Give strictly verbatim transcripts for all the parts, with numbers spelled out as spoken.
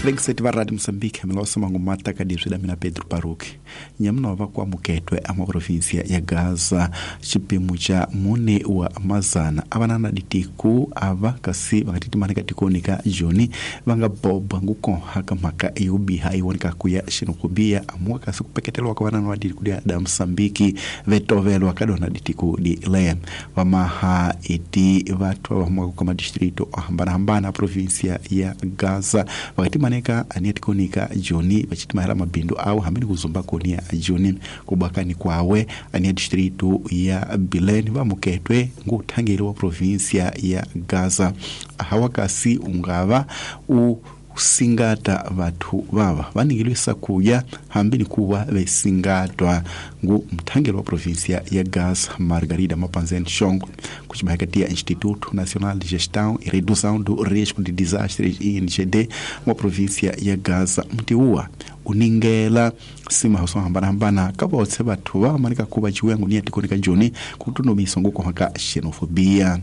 Vengiseti va Radio Mozambique milosa mangumata ka dizwi la mina Pedro Paruki nyamunova kwa muketwe ama provinsia ya Gaza xipimo xa mune wa mazana avanana ditiku ava kasi vakatitimani ka tikoni ka Joni va nga boba ngukoha ka mhaka yo biha yi voneka ku ya xenophobia amuwa kasi ku peketelwa ka vanana va ditiku dia da Mozambique vetovelwa ka dona ditiku di le vamaha eti vathu va humaka ka madistrito o hambanahambana provinsia ya Gaza vakati maneka aniatikonika Joni vachitimahela mabindu awo hambi kuzumba koni ya Joni kubakani kwawe ania distrito ya Bilene vamuketwe nguthangeli wa provinsia ya Gaza hawakasi ungava u singata vathu vava vaningilwisa kuya hambi ni kuva vesingatwa ngu mthangeli wa provinsia ya Gaza Margarida Mapanzen Shongo kuchimahakati ya Instituto Nacional de Gestão e Redução do Risco de Desastres I N G D wa provinsia ya Gaza mtiua uningela sima so hambana hambana ka votse vathu va manika kuva chiwengo ni atikonika Joni kutunomisa ngukohaka xenofobia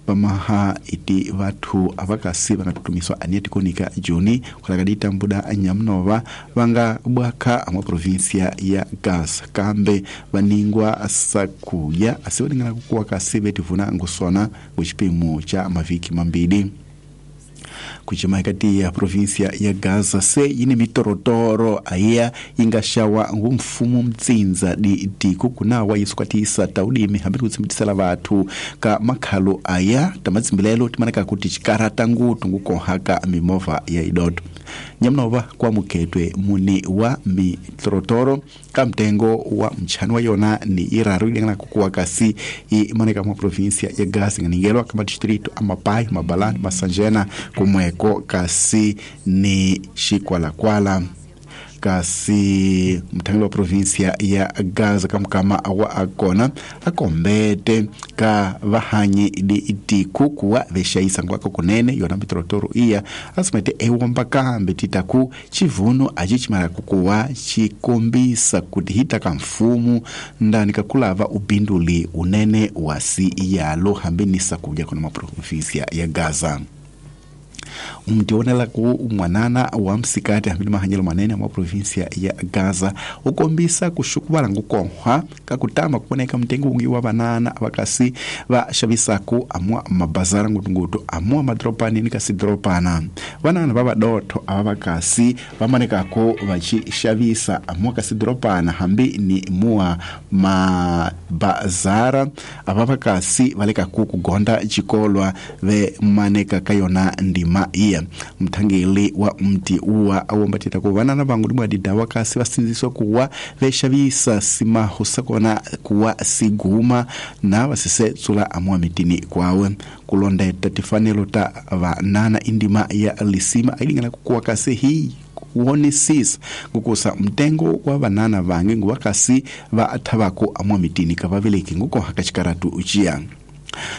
vamaha iti vathu avakasi va nga tutumiswa ani atikonika Joni kulaka ditambuda nyamunova va nga bwaka amwa provinsia ya Gaza kambe vaningwa sakuya asi vaningana kukuwa kasi vetivuna ngusona nguxipimo cha mavhiki mambili kuchimahikati ya provinsia ya Gaza se yini mitorotoro aya inga xawa ngu mfumo mtsinza di tiko kunawa yisukwatisa taudimi hambi kutsimbisela vathu ka makhalo aya tamatsimbilelo timanaka kuti chikarata ngutu ngukohaka mimovha ya idoto nyamunova kwa muketwe muni wa mitorotoro ka mtengo wa mchani wa yona ni iraru ilingana kukuwa kasi imaneka mwa provinsia ya Gaza nganingelwa kama distrito amapai mabalani masanjena kumweko kasi ni xikwalakwala kasi mthangeli wa provinsia ya Gaza kamukama wa akona akombete ka vahanyi di itiku kuwa vexayisa ngwako kunene yona mitorotoro iya asimete ewomba kambe titaku chivuno aci chimala kukuwa chikombisa kuti hita ka mfumu ndani kakulava ubinduli unene wasi yalo hambi ni sakuja kuna maprovinsia ya Gaza mtionela ku mwanana wa msikati hambi mahanyelo manene mwa provinsia ya Gaza ukombisa kushukuvala ngukohwa kakutama kuoneka mtengo ungi wa banana vakasi va xavisaku amwa mabazara ngutungutu amwa madropani ni kasi dropana vanana va vadotho ava vakasi vamanekako vaxi xavisa amwa kasi dropana hambi ni mua mabazara ava vakasi valekaku kugonda xikolwa ve maneka ka yona ndima iya mthangeli wa mti uwa awombatita ku vanana vangu limwa didawa kasi vasindziswa kuwa vexavisa simaho sakona kuwa siguma na vasise tsula amwa mitini kwawe kulondeta tifanelo ta vanana indima ya lisima ailingana kukuwa kasi hii kuonisisa ngukusa mtengo wa vanana vange nguwakasi va thavako amwa mitini kavaveleki ngukoha kaxikaratu uciya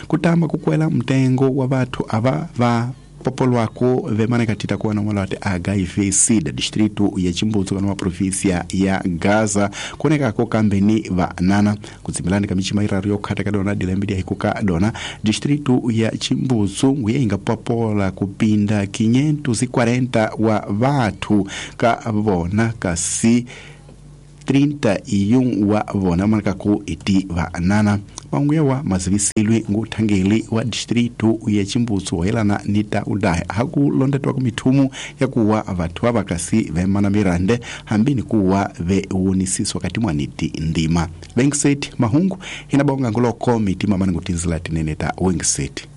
kutamba kukwela mtengo wa vathu ava va popolwako vemaneka tita kuwana mwala wati H I V SIDA distrito ya Chimbudzi kana provinsia ya Gaza kuonekako kambeni vanana kutsimbilani ka michima iraru yokhata ka dona dilembe dia hikuka dona distrito ya Chimbudzi nguye inga popola kupinda quinhentos e quarenta wa vathu ka vona kasi trinta e um wa vona manekaku iti vanana vanguyewa mazivisilwe nguthangeli wa distrito ya Chimbudzi hoyelana ni ta udahe hakulondetwa ku mithumu ya kuwa vathu va vakasi vemana mirande hambi ni kuwa vewonisiswa kati mwaniti ndima vengiseti mahungu hina bonga ngoloko mitima mani ngutinzila tinene ta wengiseti.